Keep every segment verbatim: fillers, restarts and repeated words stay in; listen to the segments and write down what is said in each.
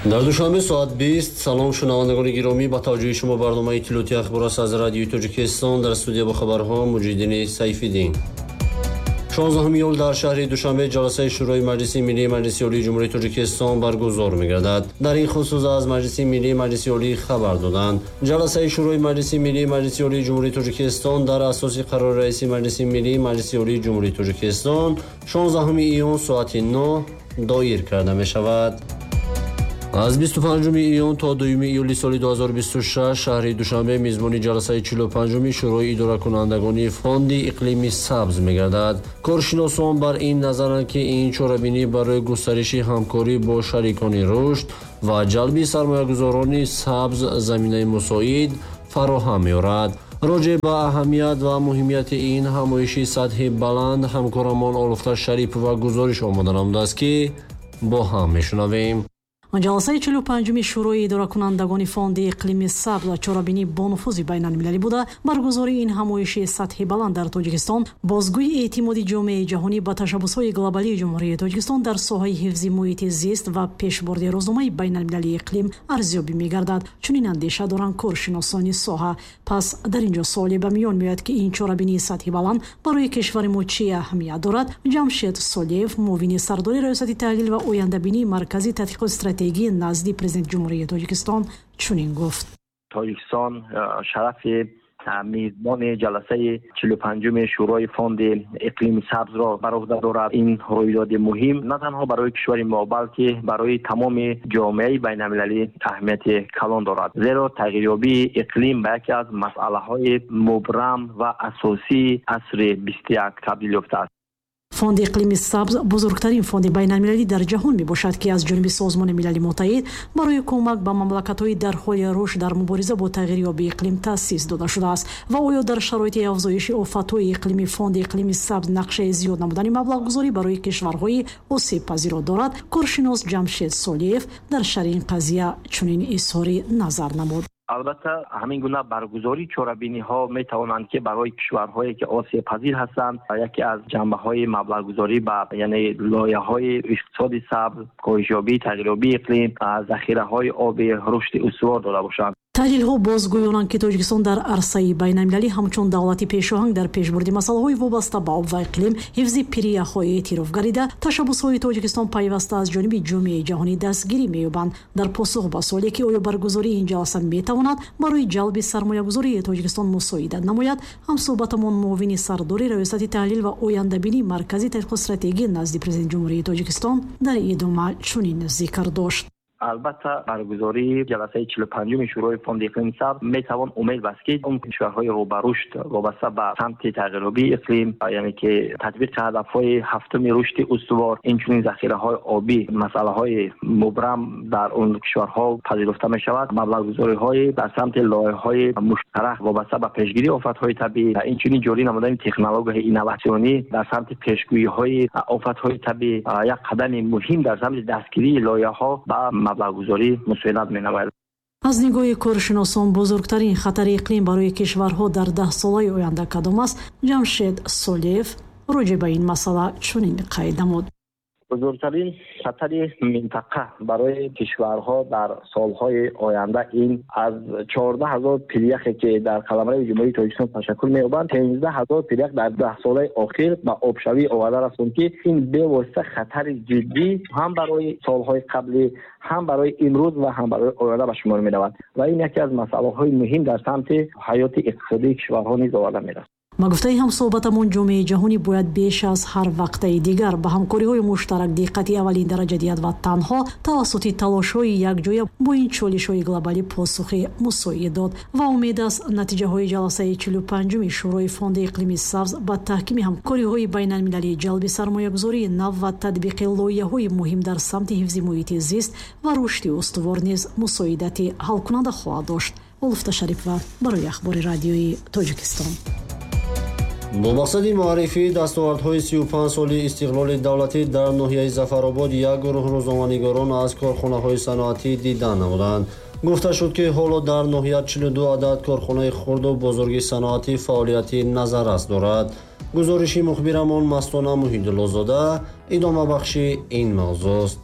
Дар Душанбе соат бист. Салом, шунавандагони гиромӣ, ба таваҷҷӯҳи шумо барномаи иттилоотии ахбор аст аз Радиои Тоҷикистон. Дар студия бо хабарҳо Муҷиддини Сайфиддин. шонздаҳуми июл дар шаҳри Душанбе ҷаласаи Шӯрои Маҷлиси Миллии Маҷлиси Олии Ҷумҳурии Тоҷикистон баргузор мегардад. Дар ин хусус аз Маҷлиси Миллии Маҷлиси Олӣ хабар доданд. Ҷаласаи Шӯрои Маҷлиси Миллии Маҷлиси Олии Ҷумҳурии Тоҷикистон дар асоси қарори раиси Маҷлиси Миллии Маҷлиси Олии Ҷумҳурии Тоҷикистон шонздаҳуми июн соати нӯҳ доир карда мешавад. Аз бисту панҷуми июн то дуюми июли соли ду ҳазору бисту шаш шаҳри Душанбе мизбони ҷаласаи чилу панҷуми Шӯрои идоракунандагони Фонди иқлими сабз мегардад. Коршиносон бар ин назаранд, ки ин чорабинӣ барои густариши ҳамкорӣ бо шарикони рушд ва ҷалби сармоягузорони сабз заминаи мусоид фароҳам меорад. Роҷеъ ба аҳамият ва муҳимияти ин ҳамоиши сатҳи баланд ҳамкорамон Олуфта Шарипова гузориш омода намудааст, ки бо ҳам мешунавем. Ҷаласаи чилу панҷуми Шӯрои идоракунандагони Фонди иқлими сабз ва чорабинӣ бонуфузи байналмилалӣ буда, баргузории ин ҳамоиши сатҳи баланд дар Тоҷикистон бозгӯи эътимоди ҷомеаи ҷаҳонӣ ба ташаббусҳои глобалии Ҷумҳурии Тоҷикистон дар соҳаи ҳифзи муҳити зист ва пешбурди рӯзномаи байналмилалии иқлим арзёбӣ мегардад. Чунин андеша доранд коршиносони соҳа. Пас дар ин ҷо суоле ба миён меояд, ки ин чорабинии сатҳи баланд барои кишвари мо чӣ аҳамият дорад? Ҷамшед Солиев, муовини сардори Раёсати таҳлил ва ояндабинии Маркази тадқиқоти стратегии назди президенти Ҷумҳурии Тоҷикистон чунин гуфт. Тоҷикистон шарафи мизбони ҷаласаи чилу панҷуми Шӯрои Фонди иқлими сабзро бар уҳда дорад. Ин рӯйдоди муҳим на танҳо барои кишвари мо, балки барои тамоми ҷомеаи байналмилалӣ аҳамияти калон дорад, зеро тағйирёбии иқлим ба яке аз масъалаҳои мубрам ва асосии асри бисту як табдил ёфтааст. Фонди иқлими сабз бузургтарин фонди байналмилалӣ дар ҷаҳон мебошад, ки аз ҷониби Созмони Милали Муттаҳид барои кӯмак ба мамлакатҳои дар ҳоли рушд дар мубориза бо тағйирёбии иқлим таъсис дода шудааст. Ва оё дар шароити афзоиши офатҳои иқлимӣ Фонди иқлими сабз нақшаи зиёд намудани маблағгузорӣ барои кишварҳои осебпазирро дорад? Коршинос Ҷамшед Солиев дар шарҳи ин қазия чунин изҳори назар намуд. Албатта, ҳамин гуна баргузории чорабиниҳо метавонанд, ки барои кишварҳое ки осебпазир ҳастанд, яке аз ҷанбаҳои маблағгузорӣ ба яъне лоиҳаҳои иқтисоди сабз, коҳишёбии тағйирёбии иқлим, захираҳои оби, рушди устувор дода бошанд. Таҳлилҳо бозгӯёнанд, ки Тоҷикистон дар арсаи байналмилалӣ ҳамчун давлати пешоҳанг дар пешбурди масъалаҳои вобаста ба об ва иқлим, ҳифзи пиряхҳои эътироф гардида, ташаббусҳои Тоҷикистон пайваста аз ҷониби ҷомеаи ҷаҳонӣ дастгирӣ меёбанд. Дар посух ба суоле, ки оё баргузории ин ҷаласа метавонад барои ҷалби сармоягузории Тоҷикистон мусоидат намояд, ҳамсӯҳбатамон муовини сардори Раёсати таҳлил ва ояндабинии Маркази тадқиқоти стратегӣ назди президенти Ҷумҳурии Тоҷикистон дар идома чунин зикр дошт. Албатта, баргузории ҷаласаи чилу панҷуми Шӯрои Фонди иқлими сабз метавон умед баст, ки он кишварҳои рӯ ба рушд вобаста ба самти тағйирёбии иқлим, яъне ки татбиқи ҳадафҳои ҳафтуми рушди устувор, инчунин захираҳои обӣ, масъалаҳои мубрам дар он кишварҳо пазируфта мешавад. Маблағгузориҳои дар самти лоиҳаҳои муштарак вобаста ба пешгирии офатҳои табиӣ, инчунин ҷорӣ намудани технологияҳои инноватсионӣ дар самти пешгӯиҳои офатҳои табиӣ як қадами муҳим дар самти дастгирии лоиҳаҳо ба маблағгузорӣ мусоидат менамояд. Аз нигоҳи коршиносон бузургтарин хатари иқлим барои кишварҳо дар даҳсолаи оянда кадом аст? Ҷамшед Солиев роҷеъ ба ин масъала чунин қайд намуд. Бузургтарин хатари минтақа барои кишварҳо дар солҳои оянда ин аз чордаҳ ҳазор пиряхе ки дар қаламрави Ҷумҳурии Тоҷикистон ташаккул меёбанд, сездаҳ ҳазор пирях дар даҳсолаи охир ба обшавӣ оварда расонд, ки ин бевосита хатари ҷиддӣ ҳам барои солҳои қаблӣ, ҳам барои имрӯз ва ҳам барои оянда ба шумор меравад ва ин яке аз масъалаҳои муҳим дар самти ҳаёти иқтисодии кишварҳо низ оварда мерасад. Ба гуфтаи ҳамсӯҳбатамон, ҷомеаи ҷаҳонӣ бояд беш аз ҳар вақтаи дигар ба ҳамкориҳои муштарак диққати аввалин дараҷа диҳад ва танҳо тавассути талошҳои якҷоя бо ин чолишҳои глобалӣ посухи мусоид дод. Ва умед аст, натиҷаҳои ҷаласаи чилу панҷуми Шӯрои Фонди иқлими сабз ба таҳкими ҳамкориҳои байналмилалӣ, ҷалби сармоягузории нав ва татбиқи лоиҳаҳои муҳим дар самти ҳифзи муҳити зист ва рушди устувор низ мусоидати ҳалкунанда хоҳад дошт. Олуфта Шарипова барои ахбори Радиои Тоҷикистон. Бо мақсади муаррифии дастовардҳои сию панҷ соли истиқлоли давлатӣ дар ноҳияи Зафаробод як гурӯҳ рӯзноманигорон аз корхонаҳои саноатӣ дидан намуданд. Гуфта шуд, ки ҳоло дар ноҳия чилу ду адад корхонаи хурду бузурги саноатӣ фаъолияти назаррас дорад. Гузориши мухбирамон Мастона Муҳиддуллозода идомабахши ин мавзӯст.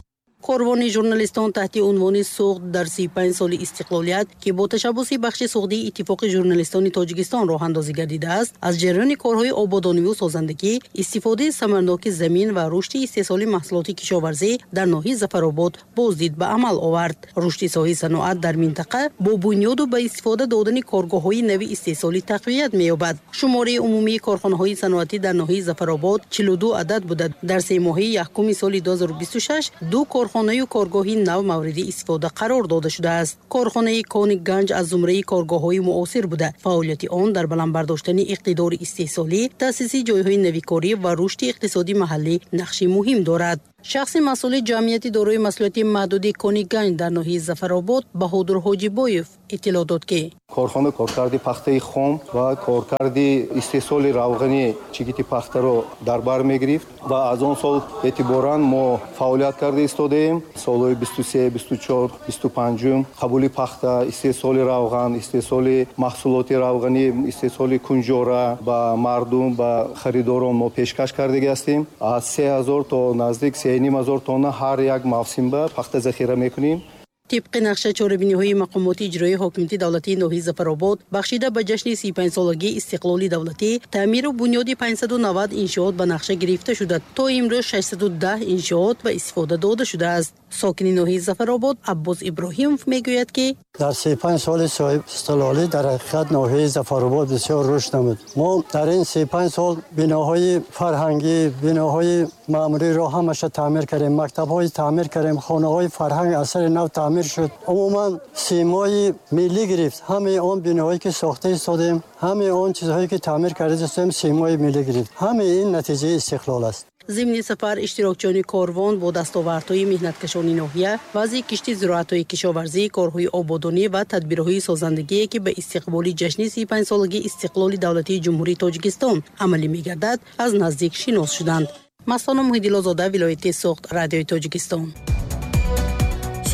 Корвони журналистон таҳти унвони «Суғд дар си панҷ соли истиқлолият», ки бо ташаббуси бахши суғдии Иттифоқи журналистони Тоҷикистон роҳандозӣ гардидааст, аз ҷараёни корҳои ободониву созандагӣ, истифодаи самарноки замин ва рушди истеҳсоли маҳсулоти кишоварзӣ дар ноҳияи Зафаробод боздид ба амал овард. Рушди соҳаи саноат дар минтақа бо бунёду ба истифода додани коргоҳҳои нави истеҳсолӣ тақвият меёбад. Шумораи умумии корхонаҳои саноатӣ дар ноҳияи Зафаробод чилу ду адад буда, дар семоҳаи якуми соли ду ҳазору бисту шаш ду корхонаю коргоҳи нав мавриди истифода қарор дода шудааст. Корхонаи Кони Ганҷ аз зумраи коргоҳҳои муосир буда, фаъолияти он дар баланд бардоштани иқтидори истеҳсолӣ, таъсиси ҷойҳои навикорӣ ва рушди иқтисоди маҳаллӣ нақши муҳим дорад. Шахси масъули ҷамъияти дорои масъулияти маҳдуди Кони Ганҷ дар ноҳияи Зафаробод Баҳодур Ҳоҷибоев иттилоъ дод, ки корхона коркарди пахтаи хом ва коркарди истеҳсоли равғани чигити пахтаро дар бар мегирифт ва аз он сол эътиборан мо фаъолият карда истодаем. Солҳои бисту се, бисту чор, бисту панҷум қабули пахта, истеҳсоли равған, истеҳсоли маҳсулоти равғанӣ, истеҳсоли кунҷора ба мардум, ба харидорон мо пешкаш кардагӣ ҳастем. Аз се ҳазор то наздик се ним ҳазор тонна ҳар як мавсим ба пахта захира мекунем. Тибқи нақша чорабиниҳои мақомоти иҷроии ҳокимияти давлатии ноҳияи Зафаробод бахшида ба ҷашни си панҷсолагии истиқлоли давлатӣ, таъмиру бунёди панҷсаду навад иншоот ба нақша гирифта шуда, то имрӯз шашсаду даҳ иншоот ба истифода дода шудааст. Сокини ноҳияи Зафаробод Аббос Иброҳимов мегӯяд, ки дар си панҷ соли соҳибистиқлолӣ дар ҳақиқат ноҳияи Зафаробод бисёр рушд намуд. Мо дар ин си панҷ сол биноҳои фарҳангӣ, биноҳои маъмуриро ҳамаша таъмир кардем, мактабҳои таъмир кардем, хонаҳои фарҳанг аз сари нав таъмир шуд. Умуман симои миллӣ гирифт. Ҳамаи он биноҳое ки сохта истодем, ҳамаи он чизҳое ки таъмир карда истодем, симои миллӣ гирифт. Ҳамаи ин натиҷаи истиқлол аст. Зимни сафар иштирокчиёни корвон бо дастовардҳои меҳнаткашони ноҳия, вазъи кишти зироатҳои кишоварзӣ, корҳои ободонӣ ва тадбирҳои созандагие, ки ба истиқболи ҷашни си панҷсолагии истиқлоли давлатии Ҷумҳурии Тоҷикистон амалӣ мегардад, аз наздик шинос шуданд. Мастона Муҳиддилозода, вилояти Суғд, Радиои Тоҷикистон.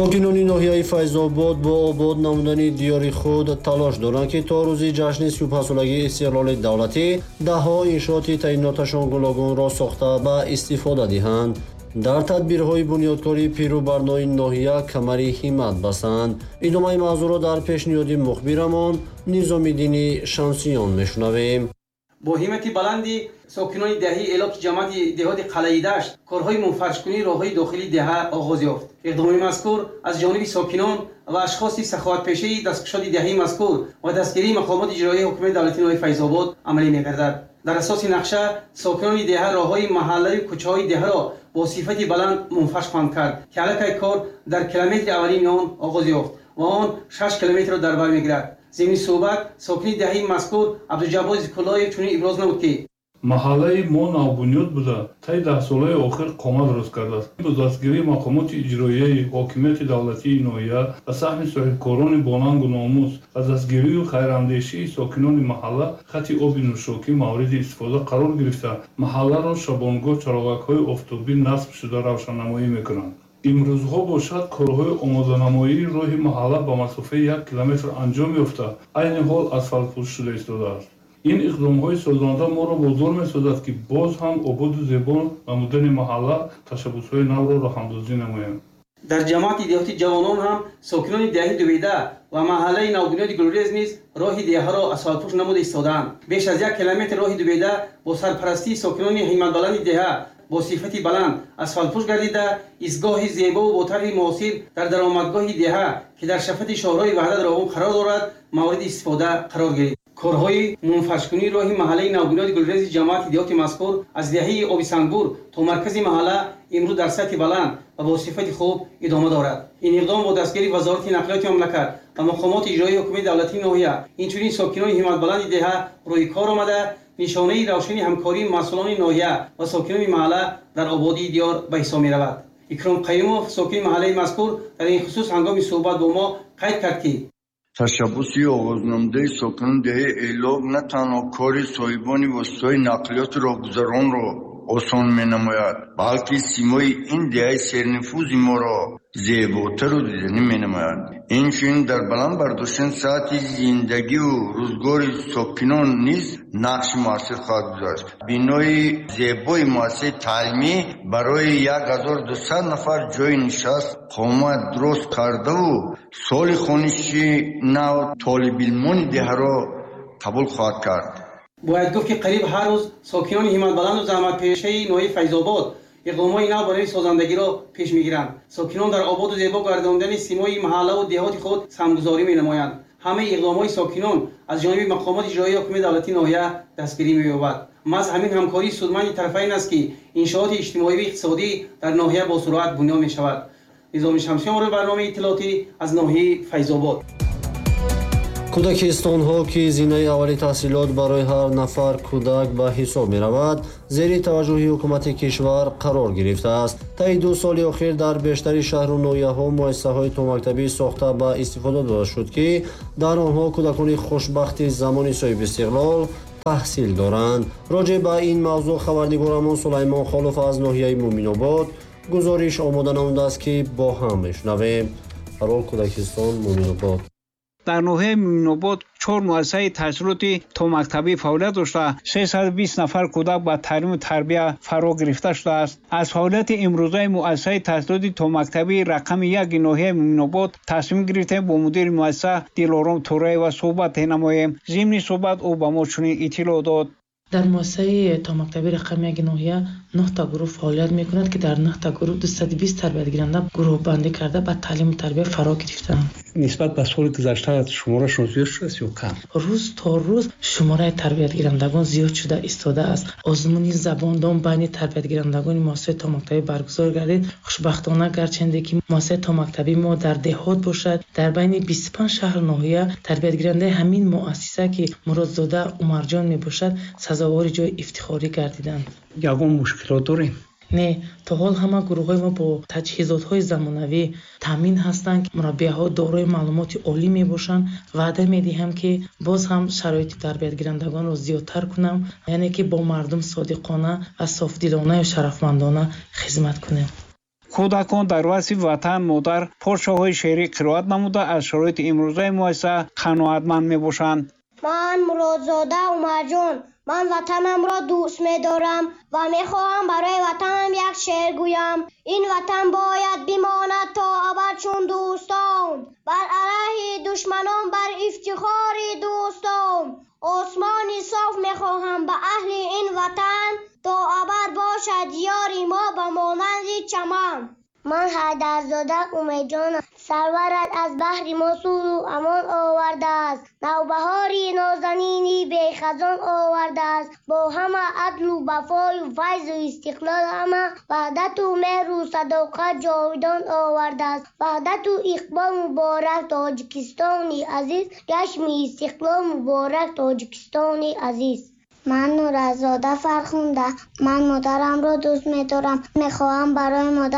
Сокинони ноҳияи Файзобод бо обод намудани диёри худ талош доранд, ки то рӯзи ҷашни сию панҷсолагии истиқлоли давлатӣ даҳҳо иншооти таъиноташон гуногунро сохта ба истифода диҳанд. Дар тадбирҳои бунёдкории пиру барнои ноҳия камари ҳиммат бастанд. Идомаи мавзӯъро дар пешниҳоди мухбирамон Низомиддини Шамсиён мешунавем. Бо ҳиммати баланди сокинони деҳаи Элоки ҷамоати деҳоти Қалъаи Дашт корҳои мунфаршкунии роҳҳои дохилии деҳа оғоз ёфт. Иқдоми мазкур аз ҷониби сокинон ва ашхоси саховатпешаи дасткушоди деҳаи мазкур ва дастгирии мақомоти иҷроии ҳукумати давлатии ноҳияи Файзобод амалӣ мегардад. Дар асоси нақша сокинони деҳа роҳҳои маҳаллаю кӯчаҳои деҳаро бо сифати баланд мунфарш хоҳанд кард, ки аллакай кор дар километри аввалини он оғоз ёфт ва он шаш километрро дар бар мегирад. Зимни суҳбат сокини деҳаи мазкур Абдуҷаббор Зикуллоев чунин иброз намуд, ки маҳаллаи мо навбунёд буда, таи даҳсолаи охир қомат рост кардааст. Бо дастгирии мақомоти иҷроияи ҳокимияти давлатии ноҳия ва саҳми соҳибкорони бонангу номус ва дастгирию хайрандешии сокинони маҳалла хати оби нӯшокӣ мавриди истифода қарор гирифта, маҳалларо шабонгоҳ чароғакҳои офтобӣ насб шуда равшаннамоӣ мекунанд. Имрӯзҳо бошад, корҳои омоданамоии роҳи маҳалла ба масофаи як километр анҷом ёфта, айни ҳол асфалтпӯш шуда истодааст. Ин иқдомҳои созанда моро водор месозад, ки боз ҳам ободу зебо намудани маҳалла ташаббусҳои навро роҳандозӣ намоем. Дар ҷамоати деҳоти Ҷавонон ҳам сокинони деҳаи Дуведа ва маҳаллаи навбунёди Гулрез низ роҳи деҳаро асфалтпӯш намуда истодаанд. Беш аз як километр роҳи Дуведа бо сарпарастии сокинони ҳимматбаланди деҳа бо сифати баланд асфалтпӯш гардида, истгоҳи зебову бо тарҳи муосир дар даромадгоҳи деҳа, ки дар шафати шоҳроҳи Ваҳдат Роғун қарор дорад, мавриди истифода қарор гирифт. Корҳои мунфаршкунии роҳи маҳаллаи навбунёди Гулрези ҷамоати деҳоти мазкур аз деҳаи Обисангур то маркази маҳалла имрӯз дар сатҳи баланд ва бо сифати хуб идома дорад. Ин иқдом бо дастгирии Вазорати нақлиёти мамлакат ва мақомоти иҷроии ҳукумати давлатии ноҳия, инчунин сокинони ҳимматбаланди деҳа рӯи кор омада, нишонаи равшани ҳамкории масъулони ноҳия ва сокинони маҳалла дар ободии диёр ба ҳисоб меравад. Икром Қаюмов, сокини маҳаллаи мазкур, дар ин хусус ҳангоми суҳбат бо мо қайд кард, ки ташаббуси оғознамудаи сокинони деҳаи Элок на танҳо кори соҳибони воситаҳои нақлиёти роҳгузаронро осон менамояд, балки симои ин деҳаи сернуфузи моро зеботару диданӣ менамояд. Инчунин дар баланд бардоштани сатҳи зиндагиву рӯзгори сокинон низ нақши муассир хоҳад гузошт. Бинои зебои муассисаи таълимӣ барои як ҳазору дусад нафар ҷойи нишаст қомат дуруст кардаву соли хониши нав толибилмони деҳаро қабул хоҳад кард. Бояд гуфт, ки қариб ҳар рӯз сокинони ҳимматбаланду заҳматпешаи ноҳияи Файзобод иқдомҳои нав барои созандагиро пеш мегиранд. Сокинон дар ободу зебо гардондани симои маҳаллаву деҳоти худ саҳмгузорӣ менамоянд. Ҳамаи иқдомҳои сокинон аз ҷониби мақомоти иҷроии ҳокимияти давлатии ноҳия дастгирӣ меёбад. Маҳз ҳамин ҳамкории судманди тарафайн аст, ки иншооти иҷтимоию иқтисодӣ дар ноҳия бо суръат бунёд мешавад. Низоми Шамсиён, барномаи иттилоотӣ аз ноҳияи Файзобод. Кӯдакистонҳо, ки зинаи аввали таҳсилот барои ҳар нафар кӯдак ба ҳисоб меравад, зери таваҷҷӯҳи ҳукумати кишвар қарор гирифтааст. Таи ду соли охир дар бештари шаҳру ноҳияҳо муассисаҳои томактабӣ сохта ба истифода дода шуд, ки дар онҳо кӯдакони хушбахти замони соҳибистиқлол таҳсил доранд. Роҷеъ ба ин мавзӯъ хабарнигорамон Сулаймон Холов аз ноҳияи Муъминобод гузориш омода намудааст, ки бо ҳам мешунавем. Парол кӯдакистон, Муъминобод. Дар ноҳияи Муъминобод чор муассисаи таҳсилоти томактабӣ фаъолият дошта, сесаду бист нафар кӯдак ба таълиму тарбия фаро гирифта шудааст. Аз фаъолияти имрӯзаи муассисаи таҳсилоти томактабии рақами яки ноҳияи Муъминобод тасмим гирифтем бо мудири муассиса Дилором Тураева суҳбат намоем. Зимни суҳбат ӯ ба мо чунин иттилоъ дод. Дар муассисаи томактабӣ рақами яки ноҳия нӯҳта гурӯҳ фаъолият мекунад, ки дар нӯҳта гурӯҳ дусаду бист тарбиятгиранда гурӯҳбандӣ карда ба таълиму тарбия фаро гирифтаанд. Нисбат ба соли гузашта шуморашон зиёд шудааст ё кам? Рӯз то рӯз шумораи тарбиятгирандагон зиёд шуда истодааст. Озмуни забондон байни тарбиятгирандагони муассисаи томактабӣ баргузор гардид. Хушбахтона, гарчанде ки муассисаи томактабии мо дар деҳот бошад, дар байни бисту панҷ шаҳру ноҳия тарбиятгирандаи ҳамин муассиса, ки Муродзода Умарҷон мебошад, сазовори ҷои ифтихорӣ гардиданд. Ягон мушкилот дорем? Не, то ҳол ҳама гурӯҳҳои мо бо таҷҳизотҳои замонавӣ таъмин ҳастанд. Мураббияҳо дорои маълумоти олӣ мебошанд. Ваъда медиҳам, ки боз ҳам шароити тарбиятгирандагонро зиёдтар кунам, яъне ки бо мардум содиқона ва софдилонаю шарафмандона хизмат кунем. Кӯдакон дар васфи ватан модар порчаҳои шеърӣ қироат намуда, аз шароити имрӯзаи муассиса қаноатманд мебошанд. Ман Муродзода Умарҷон, ман ватанамро дӯст медорам ва мехоҳам барои ватанам як шеър гӯям. Ин ватан бояд бимонад то абад чун дӯстон, бар алайҳи душманон, бар ифтихори дӯстон. Осмони соф мехоҳам ба аҳли ин ватан, то абад бошад ёри мо ба монанди чаман. Ман Ҳайдарзода Умедҷонам, сарварат аз баҳри мо сулҳу амон овардааст. Навбаҳори нозанини бехазон овардааст. Бо ҳама адлу вафою файзу истиқлол, ҳама ваҳдату меҳру садоқат ҷовидон овардааст. Ваҳдату иқбол муборак Тоҷикистони азиз, ҷашни истиқлол муборак Тоҷикистони азиз. Ман Нуразода Фархунда, ман модарамро дӯст медорам. Мехоҳам барои модар